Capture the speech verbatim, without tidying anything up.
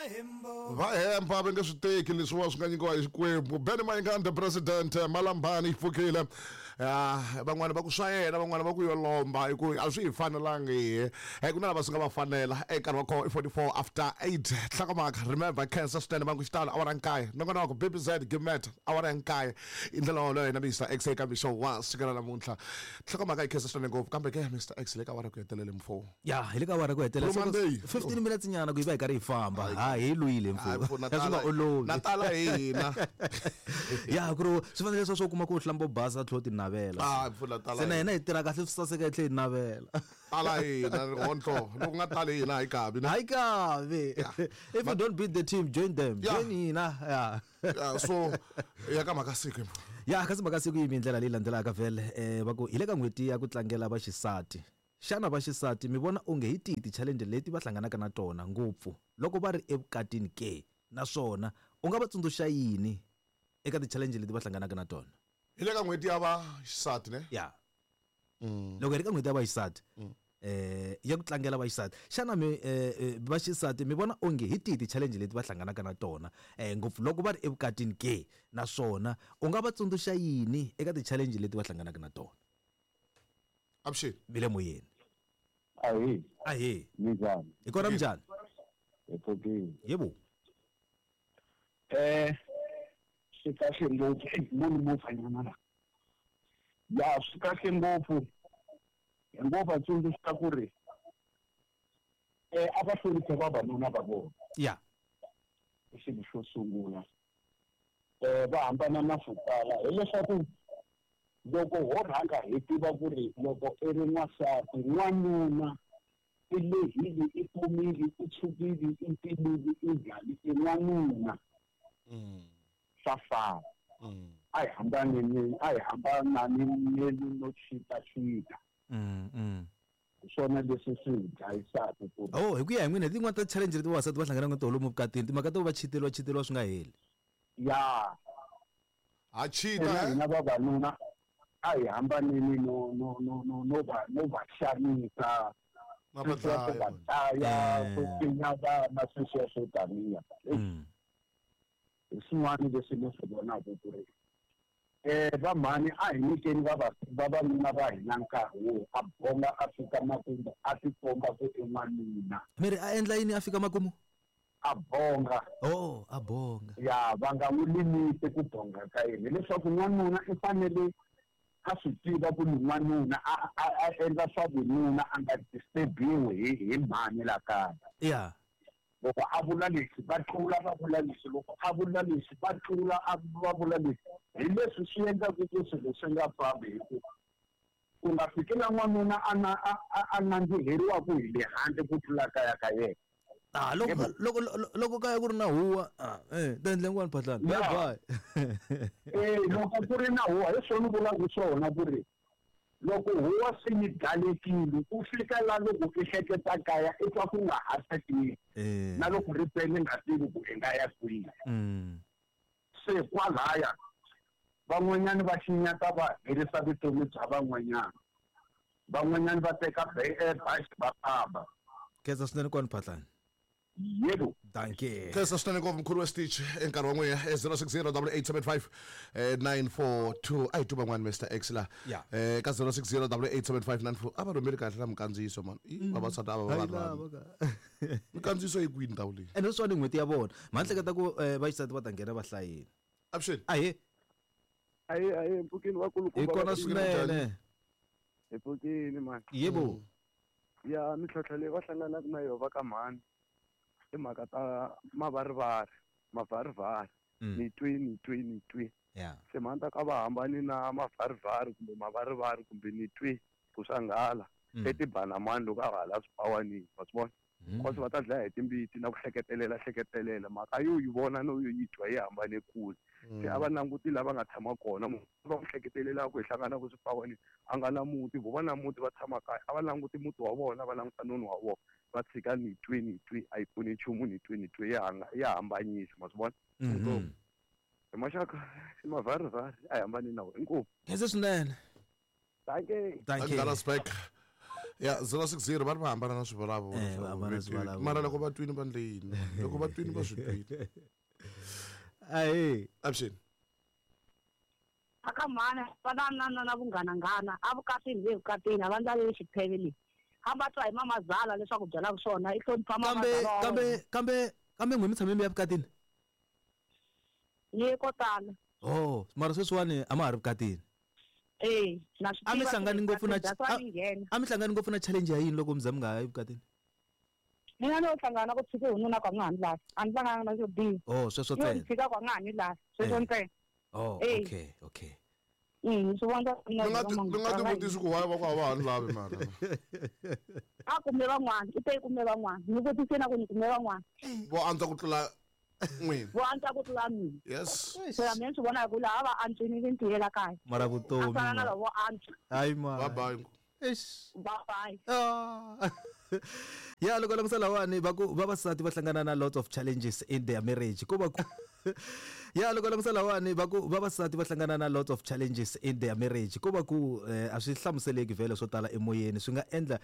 Va hemba va nge swi teki leswiwa swi nga nyikiwa hi Xikwembu. Benny Mayengani the president, Malambani yi pfukile. Ah, van'wana va ku swa yena, van'wana va ku yo lomba hi ku a swi hi fanelangi. Eh, ku na lava swi nga va fanela. Eka nkarhi wa kona i forty-four after eight. Nhlokomhaka, remember cancer swinene va ku xitalo awara nkaye. Nongonoko B B Z Gimet awara ya nkaye. I ndlela wolowo na Mister X eka mixo wa siku ra namuntlha. Nhlokomhaka yi khensa swinene ngopfu kambe ke Mister X le ka awara ku hetelele mfo. Ya, hi le ka awara ku hetelela. Blue Monday. fifteen minutes nyana ku yi va hi karhi hi famba. Ha hi lwile mfo. Hayi, mfo, na Swi nga tala- olovi. na tala hina. Ya, ku ri swi fanele leswo kuma ku hlamba basa tlhelo ti navela. Ah, mfo, na tala Se na hina. hina hi tirha kahle swi saseka hi tlhela hi navela. Tala hina, rihondlo. Loko nga tali hina hi kabi, na? Hi kabi. Yeah. If you don't beat the team, join them. Yeah. Join hina. Yeah. Yeah, so ya ka mhaka siku. Ya, kasi mhaka siku yi mi ndlela leyi landzelaka vhele. Eh, va ku hi le ka n'hweti ya ku tlangela vaxisati. Xana vaxisati mi vona onge hi tihi ti-challenge leti va hlanganaka na tona ngopfu loko va ri evukatini ke? Naswona u nga va tsundzuxa yini eka ti-challenge leti va hlanganaka na tona? Hi le ka n'hweti ya vaxisati ne? Ya. Mm. Loko hi ri ka n'hweti ya vaxisati, Mm. eh, ya ku tlangela vaxisati, xana mi, eh, eh, vaxisati mi vona onge hi tihi ti-challenge leti va hlanganaka na tona, eh, ngopfu loko va ri evukatini ke? Naswona u nga va tsundzuxa yini eka ti-challenge leti va hlanganaka na tona? Avuxeni. Mi le moyeni. Ahee. Ahee. Minjhani? Hi kona minjhani? Hi pfukile. Yebo. Eh, swi kahle ngopfu. Ei, munhu movhanyana la. Ya, swi kahle ngopfu. Hi ngo va tsundzuxa ku ri, eh, a va hloniphe vavanuna va vona. Ya. I xilo xo sungula. Eh, va hambana na swo tala. Hileswaku loko ho rhanga hi tiva ku ri loko i ri n'wansati, n'wanuna i lehile, i komile, i tshukile, i timile, i njhani, i n'wanuna. Mm. Swa fana. Mm. A hi hambaneni, a hi hambananeni no chita-chita. Mm, mm. Hi swona leswi swi hi dlayisaka ku ri Oh, hi ku ya hi n'wina, hi tin'wani ta challenge leti vavasati va hlanganaka na tona lomu vukatini, timhaka to va chiteriwa, chiteriwa swi nga heli. Ya. Ha chita, Hina eh? hina vavanuna a hi hambaneni no, no, no, no, no va, no va xanisa. Na va Sweswiya swo dlaya. va dlaya, Eh. swo pfinya vana, sweswiya swo taniya. Mm. Hi swin'wana leswi ni swi vonaka ku ri, eh, va mhani a hi nyikeni vava-, vavanuna va hina nkarhi wo a bonga a fika makumu, a tikomba ku i n'wanuna. Mi ri a endla yini a fika makumu? A bonga. Oh, a bonga. Ya, va nga n'wi limiti ku bonga ka yena. Hileswaku n'wanuna i fanele a swi tiva ku ni n'wanuna, a, a, a endla swa vununa, a nga disturbiwi hi, hi mhani la kaya. Ya. Loko a vula leswi, va tlula va vula leswi. Loko a vula leswi, va tlula a va vula leswi. Hi leswi swi endlaka ku swilo swi nga fambi hi ku ku nga fiki la n'wanuna a na, a, a, a nandziheriwaka hi le handle ku tlula kaya ka yena. Ah, loko, Yebo. loko, loko, loko kaya ku ri na huwa, ah, eh, ta endla yin'wana phatlana. Ya. Bye bye. Eh, loko ku ri na huwa, hi swona vulaka swona ku ri loko huwa se yi dalekile, ku fika la loko i hleketa kaya, i twa ku nga ha tsakisi. Eh. Na loko ri pele nga tivi ku i nga ya kwihi. Mm. Se kwalaya van'wanyana va xinyata va herisa vutomi bya van'wanyana. Van'wanyana va teka be-, eh, bazi va famba. Khensa swinene kwani phatlana. Yebo. Dankie. Khensa swinene ngopfu mkhulu wa Stitch enkarhi wa n'wina, eh, zero six zero double eight seven five, eh, nine four two. A hi twa van'wani Mister X la. Yeah. Eh, ka zero six zero double eight seven five nine four. A va rhumeli kahle na minkandziyiso man. Ih, Mm. vavasati a va va Hayi rhandzi. lava ka. Minkandziyiso yi kwihi ndhawu leyi? Ene sweswiwani n'hweti ya vona. Ma hleketa ku, eh, vaxisati va ta nghena va hlayile. Avuxeni. Ahee. Ahee, ahee, mpfukeni wa kulukumba Hi kona va swinene. Hi pfukeni man. Yebo. Mm. Ya, mintlhontlho leyi va hlanganaka na yona va ka mhani i mhaka ta mavarivari, mavarivari. Mm. Ni twi, ni twi, ni twi. Yeah. Se mhani ta ka va hambani na mavarivari kumbe mavarivari kumbe ni twi ku swa nghala. Mm. Etibanamani loko a hala swipawanini, wa swi vona? Mm. Because va ta dlaya hi timbiti na ku hleketelela, hleketelela. Mhaka yo yi vona no yo yi twa yi hambane kule. Se a va languti lava nga tshama kona, munhu va n'wi hleketelelaka hi hlangana ku swipawanini, a nga na muti, vo va na muti va tshama kaya, a va languti muti wa vona, va languta noni wa vona. Va tshika ni twi, ni twi, a yi pfuni nchumu, ni twi, ni twi, ya hanga, ya hambanyisa, ma swi vona? Mm-hmm. Hi maxaka, i mavarivari, a hi hambani na wona. Inkomu. Khensa swinene. Dankie. Dankie. Dallas back. Ya zero six zero va ri va hambana na swivulavula. Eh, va hambana na swivulavula. Mara loko va twini va ndle yini? Loko va twini va swi twini. Ahe. Avuxeni. Aka mhana va na na na na vunghananghana evukatini, le vukatini a va ndlaleli xipheve leyi, hamba twa hi mamazala leswaku byalaka swona i hlonipha Kambe mamazala wa kambe wena. kambe kambe n'we mi tshame mi ya vukatini? Ni ko tala. Oh, mara sweswiwani a ma ha ri vukatini? Eh, na swi A mi tiva. hlangani ngopfu na that's why ni nghena. A mi hlangani ngopfu na challenge ya yini loko mi za mi nga ha yi vukatini? Mina no hlangana na ku tshike hi nuna ku a nga ha ni lavi, a ni hlangana na xo biha. Oh, sweswo Yo ni ntsena. tshika ku a nga ha ni lavi, sweswo Eh. ntsena. Oh. Eh. okay okay Mm, swi vona. Ni nga ti ni nga ti vutisi ku why va ku a va ha ni lavi, mara A kume van'wana, i te i kume van'wana, ni vutise na ku ni kume van'wana vo antswa ku tlula n'wina. Vo antswa ku tlula mina. Yes. Phela mina ni swi vona hi ku laha va antswini ni ntiyela kaya Mara a vutomi fana na ma. lavo antswa. Hayi ma. Bye bye. Eish. Bye bye. Ah. Ya, loko langutisa lawani va ku vavasati va hlangana na lots of challenges in their marriage, ko va ku ya loko langutisa lawani va ku vavasati va hlangana na lots of challenges in their marriage, ko va ku eh, a swi hlamuseleki vhele swo tala emoyeni swi nga endla.